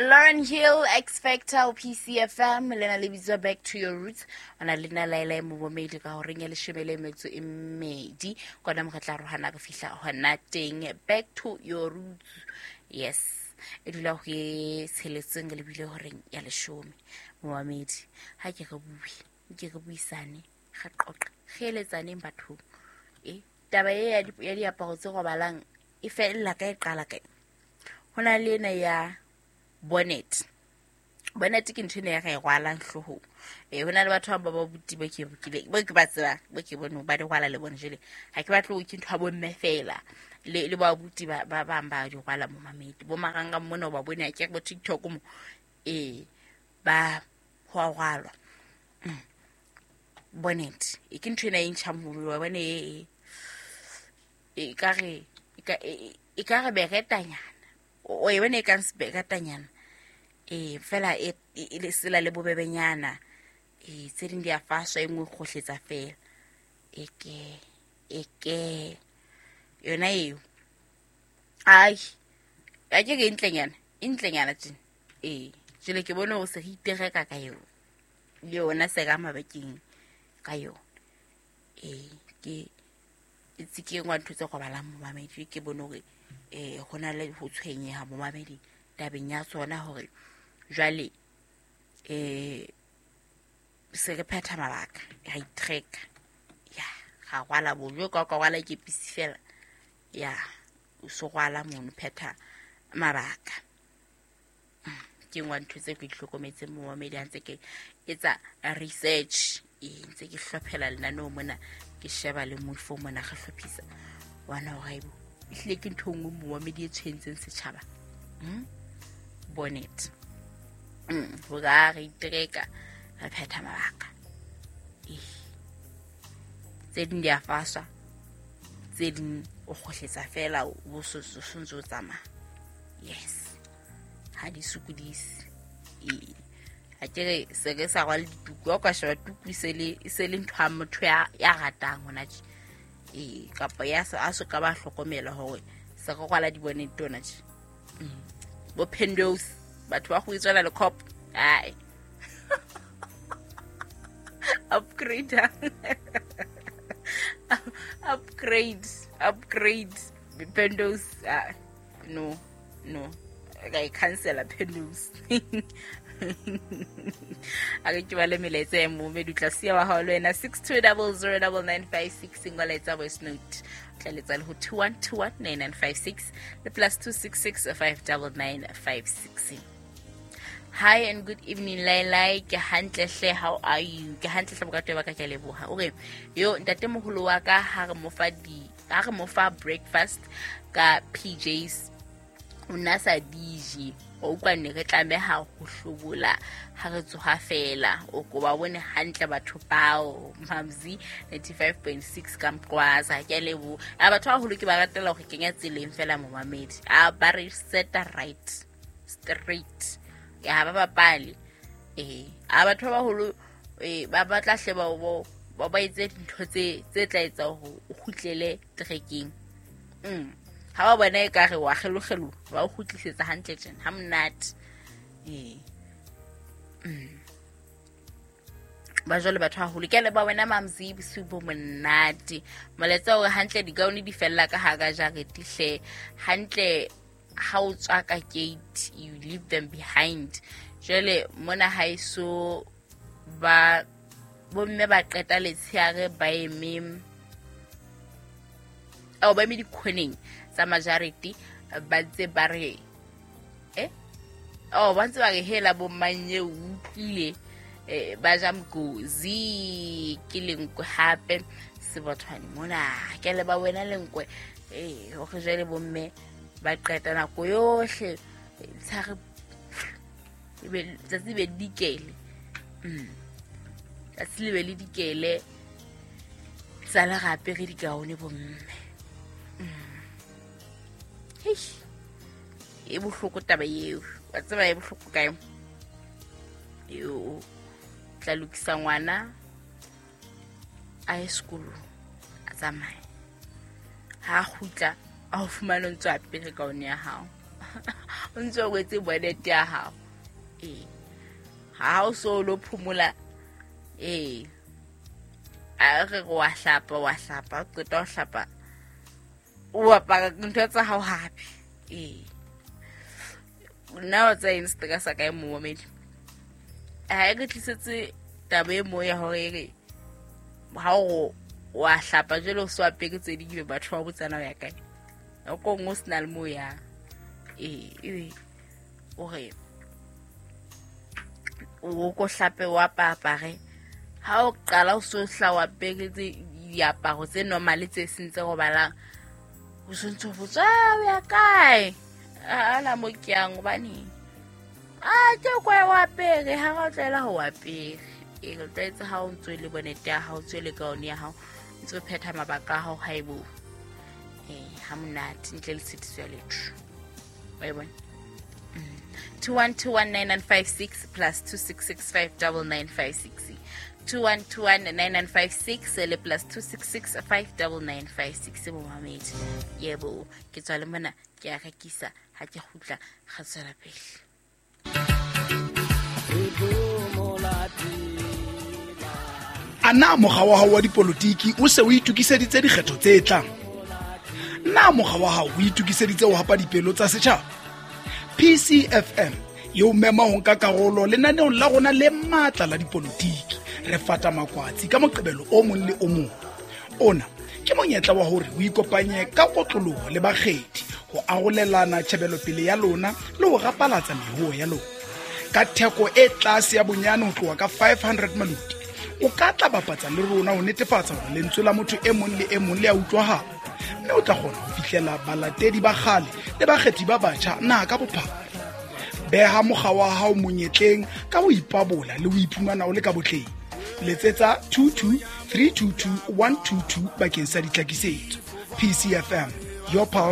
Lauren Hill, X Factor, PCFM, lena le bitswa Back to Your Roots. Ona le nna Laila Momomedi ka horeng ya leshome le metso e mmedi. Kona mo re tla rohana re fihla hona teng. Back to Your Roots. Yes. E dula ho e tsheletseng le bile horeng ya leshome. Momamedi, ha ke re bue, ke re buisane, re qoqe, re eletsaneng bathong. E taba e ya diaparo tse robalang e fella ka e qala kae? Ho na le ena ya bonnet. Bonnet ke ntho ena ya re e rwalang hloohong. Ee, ho na le batho ba ba buti ba ke bo ke ba tsebang, bo ke bone ba di rwala le bone jwale. Ha ke batle ho ke ntho ya bomme fela. Le ba buti ba ba bang ba di rwala mo mamedi. Bo marangrang mona o ba bone ha ke re bo TikTok mo. Ee, ba ho a rwalwa. Bonnet e ke ntho ena e ntjhang ho wa bone e e ka re e ka re beretanyana. O e bone e kang seberetanyana. Ee, fela e e sela le bobebenyana. Ee, tse ding di a faswa e nngwe kgohletsa fela. Eke eke yona eo. Ai, a ke re e ntlenyana, e ntlenyana tjena. Ee, jwale ke bone hore se re itereka ka yona. Le yona se ka mabakeng ka yona. Ee, ke itse ke engwe ntho tse robalang momamedi, ke bone hore ho na le ho tshwenyeha momamedi tabeng ya tsona hore jwale se re phetha mabaka, ra itreka. Ya, ra rwala bojo ka ka rwala kepisi fela. Ya, o so rwala mono phetha mabaka. Ke ngwa ntho tse ke di hlokometseng momamedi ha ntse ke etsa research. Ee, ntse ke hlophela lenaneo mona, ke sheba le moifo mona re hlophisa. Wana hore haebo ehlile ke ntho e nngwe momamedi e tshwentseng setjhaba. Bonnet. Hore ha re itereka re phetha mabaka. Ee. Tse ding di a faswa, tse ding o kgohletsa fela o so ntse o tsamaya. Yes. Ha di sokodise. Ee. Ha ke re se re sa rwale dituku, ha o ka sheba tuku e se le ntho ya motho ya ratang hona tje. Ee, kapa ya a so ka ba hlokomela hore se re rwala di-bonnet hona tje. Bo Pendos, batho ba go itswela le cop. Ai. Upgrade. Upgrade, upgrade. Pendos, no, no. Ka e cancela Pendos. A re ke ba le melaetsa ya momedi, o tla siya wa hao le wena 62009956 ngola voice note. O tla letsa le ho 21219956 le +266 59956. Hi and good evening Lailai, ke hantle hle, how are you? Ke hantle hle bokato ba ka, ke a leboha. O re yo ntate moholo wa ka ha re mo fa di ha re mo fa breakfast ka PJs o nna sa dije, o utlwa ne re tlameha ho hlobola ha re tsoha fela. O ko ba bone hantle batho bao Mamzi 95.6 ka Mqwaza. Ke a leboha. A batho ba baholo ke ba ratela hore kenya tseleng fela momamedi. A ba re seta right straight. Ya ba bapale. Ee, a batho ba baholo ba batla hle ba ba etse dintho tse tla etsa hore o kgutlele trekeng. Ha ba bona ekare wa kgelokgelo, ba o kgutlisetsa hantle tjena, ha monate. Ee. Ba jwale batho haholo. Ke a leboha wena Mamzi, bosiu bo monate. Molaetsa hore hantle digaone di fella ka hara jarete hle. Hantle ha o tswa ka gate, you leave them behind. Jwale mona haeso ba bomme ba qeta letsheare ba eme ao ba eme dikhoneng tsa majarete, ba ntse ba re oh ba ntse ba re hela bo manye o utlwile, ba ja mkozi ke lenkwe hape sebothwane mona. Ke le ba wena lenkwe, hore jwale bomme ba qeta nako yohle tshare ebe tsatsi be dikele. Tsatsi le be le dikele tsa le gape re dikaone bomme. Heish, e bohloko taba eo. Wa tseba e bohloko kae? Eo tla lokisa ngwana a ye sekolong, a tsamaye. Ha a kgutla, a o fumane o ntse o apere kaone ya hao. O ntse o wetse bonnet ya hao. Ee, ha o so lo phomola, ee, a re wa hlapa, wa hlapa, o qeta ho hlapa, o apara ntho tsa hao hape. Ee, nna wa tsa eng seteka sa kae momamedi? Ha e re tlisetse taba e mo ya hore e re ha o wa hlapa jwale o so apere tse ding, ebe batho ba botsana o ya kae, nako nngwe o se na le mo yang. Ee, ebe o re o ko hlape o apare, ha o qala o so hla o apere diaparo tse normal tse seng tse robalang, o sontse o botsa o ya kae, ana mo ke yang, hobane a ke kwa o apere, ha ra tlwaela ho apere. E re tlwaetse ha o ntso le bonete ya hao, ntso le kaone ya hao, ntse o phetha mabaka a hao, haebo ha monate ntle le tshitiso ya letho. Wa e bona? 21219956 plus 26659956, 21219956 le plus 26659956. Momamedi, yebo, ke tswa le mona, ke a rekisa, ha ke kgutla ga tswela pele. A na mokga wa hao wa dipolotiki o se o itokiseditse dikgetho tse tlang? Na mokga wa hao o itokiseditse ho hapa dipelo tsa setjhaba? PCFM e o mema ho nka karolo lenaneong la rona le matla la dipolotiki. Re fata makwatsi ka Moqebelo o mong le o mong. Ona ke monyetla wa hore o ikopanye ka kotloloho le bakgethi ho arolelana tjhebelopele ya lona le ho rapalatsa mehoo ya lona. Ka theko e tlase ya bonyane ho tloha ka 500 maluti, o ka tla bapatsa le rona ho netefatsa hore lentswe la motho e mong le e mong le a utlwahala, mme o tla kgona ho fihlela balatedi ba kgale le bakgethi ba batjha naha ka bophara. Beha mokga wa hao monyetleng ka ho ipabola le ho iphumana o le ka botleng. Letsetsa 22 322 122 bakeng sa ditlhakisetso. PCFM, your pulse.